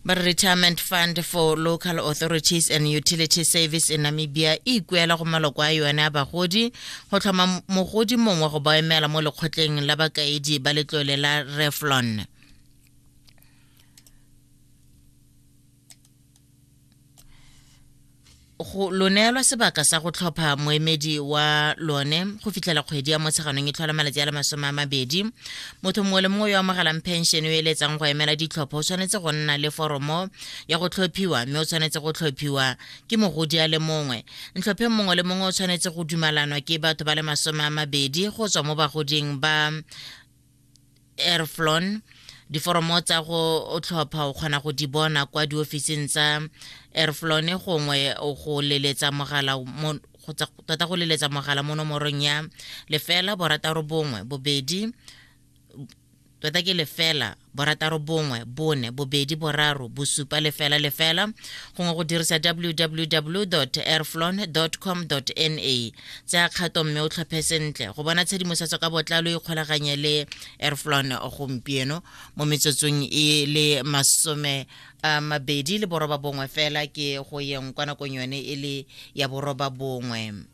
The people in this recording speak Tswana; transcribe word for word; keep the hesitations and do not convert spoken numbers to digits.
Ba re Retirement Fund for Local Authorities and Utility Service in Namibia e ikuela go maloko a yone a bagodi go tlhoma mogodi mongwe go ba emela mo lekgotleng la bakaedi ba letlole la Reflon. Go lo neelwa sebaka sa go tlhopha moemedi wa lone go fitlhela kgwedi ya Motsheganong e tlhola malatsi a le masome a mabedi. Motho mongwe le mongwe yo amogelang pension yo eletsang go emela ditlhopho o tshwanetse go nna le foromo ya go tlhophiwa, mme o tshwanetse go tlhophiwa ke mogodi a le mongwe. Ntlhopheng mongwe le mongwe o tshwanetse go dumalanwa ke batho ba le masome a mabedi go tswa mo bagoding ba Airflon. Diforomo tsa go tlhopha o kgona go di bona kwa diofising tsa Airflon gongwe go leletsa mogala mo tota go leletsa mogala mo nomorong ya lefela borataro bongwe bobedi tota ke lefela borataro bongwe bone bobedi boraro bosupa lefela lefela gongwe go dirisa w w w dot airflon dot com dot n a. Tsaya kgato mme o tlhophe sentle. Go bona tshedimosetso ka botlalo, ikgolaganye le Airflon gompieno. Mo metsotsong e le masome a mabedi le boroba bongwe fela ke go yeng kwa nakong yone e le ya boroba bongwe.